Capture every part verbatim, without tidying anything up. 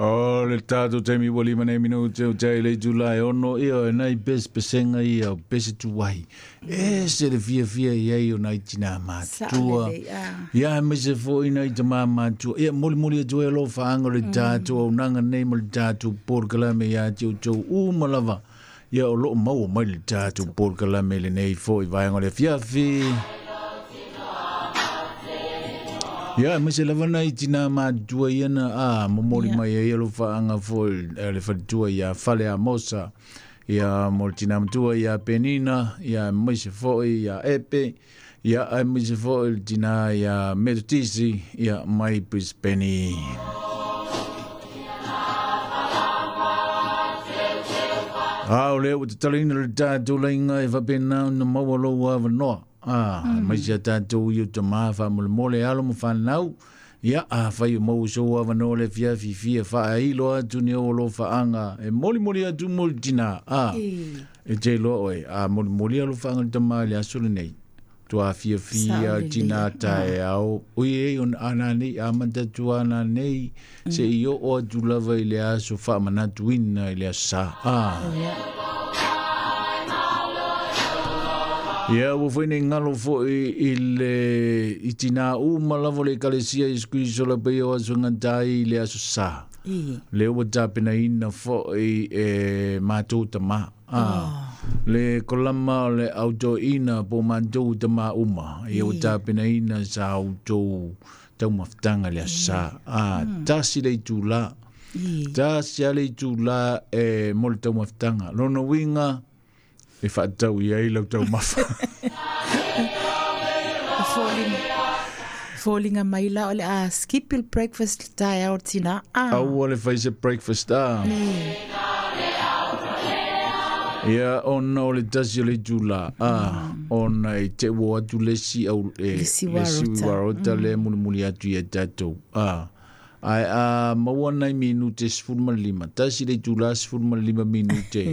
O le tatou taimi ua lima nei minute o tai le itula e ono ia e nai pesepesenga ia o pese tuai. E se le fiafia i ai o nai tinā Sao matua. Lelei a. Ia aemaise foʻi nai tamā matua. Ia molimoli atu ai alofaaga o le tatou auaunaga nei ma le tatou polokalame iā te outou uma lava. Ia o loo maua mai le tatou polokalame lenei foʻi vaega o le afiafi. Ia aemaise lava nai tinā matua ia na a momoli Ia. mai ai alofaaga foʻi eh, le faletua iā Fale Amosa. Ia mo le tinā matua iā Penina, ia aemaise foʻi iā Epe, ia aemaise foʻi le tinā iā Metotisi, ia mai Brisbane. A o lea ua tatalaina le tatou laiga e faapena ona maua lou avanoa. A, aemaise a tatou i o tamā faamolemole alo ma fanau. Ia, afai o maua sou avanoa le afiafi fia faailo atu ni ou alofaaga e molimoli atu mo le tinā. A, E. e te iloa oe, a molimoli alofaaga le tamā i le aso lenei. Toa fiafia Sao lelei. tinā taeao. Oi e ona ana nei, amata atu ana nei, se i oo atu lava i le aso faamanatuina i le aso sā. A. Ia. Ia, ua foi nei galo foʻi i le i tinā uma lava o le ekalesia Iesu Keriso lapaia o aso gatai i le aso sā. E. Le ua tapenaina foʻi e matou tamā. A, le kolama o le autoina po matou tamā uma. Ia ua E. tapenaina sa outou taumafataga le aso sā. A, tasi le itulā. E. Tasi a le itulā e mo le taumafataga. Lona uiga, e faatatau i ai lau taumafa. Foliga. Foliga mai la o le a skip il breakfast taeao tinā. Ah. Aua le fai se breakfast a. E. Ia ona o le tasi o le itulā. A, ona e te ua atu le isi au e Le isi le isi warota. warota le mulimuli atu ia tatou. A, ae a maua nai minute sefulu ma le lima. Tasi le itulā sefulu ma le lima minute.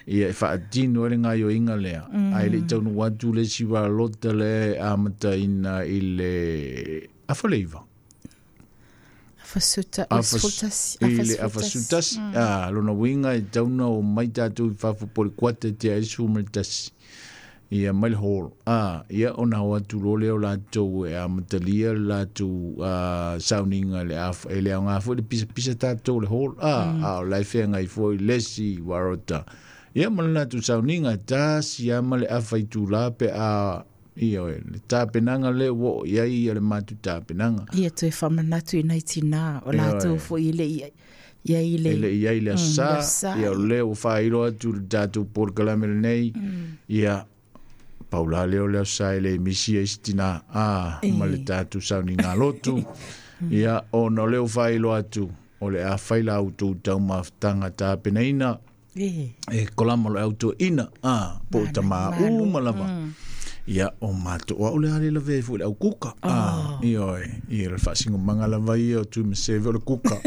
Ia e faatino ai le gaioiga lea. Ae le i taunuu atu le isi warota le amataina i le afaleiva. Afasuta, Afas- afasutasi, i le afasutasi. afasutasi. A, lona uiga e tauna o mai tatou i fafo po o le kuata e tea ai le sefulu ma le tasi. Ia mai le hall. A, ia ona o atu loa lea o latou e amatalia le latou a, sauniga le af, e le aoga foi le pisapisa tatou le hall. A, a o la e feagai foi le isi warota. Ia ma le latou sauniga tasi a ma le afa itulā pe a ia oe, le tapenaga lea ua oo i ai ia le matou tapenaga. Ia toe faamanatu i nai tinā o Ia latou oe. foʻi e le i ia i le E le i ai le Mm, aso le sā, aso sā. ia o lea ua faailo atu le tatou polokalame lenei, ia paulā lea o le aso sā e le misi ai se tinā, a, ma le E. tatou sauniga lotu. Ia, ona o lea ua faailo atu, o le a fai la outou taumafataga tapenaina, E. e kolama o le autoina, a, po o Mana, tamā malo. uma lava. Ia, o matou, o au le a le lavea ai foi le au kuka. A, Oh. ia oe, ia le faasigomaga lava ia o Tuimaseve o le kuka.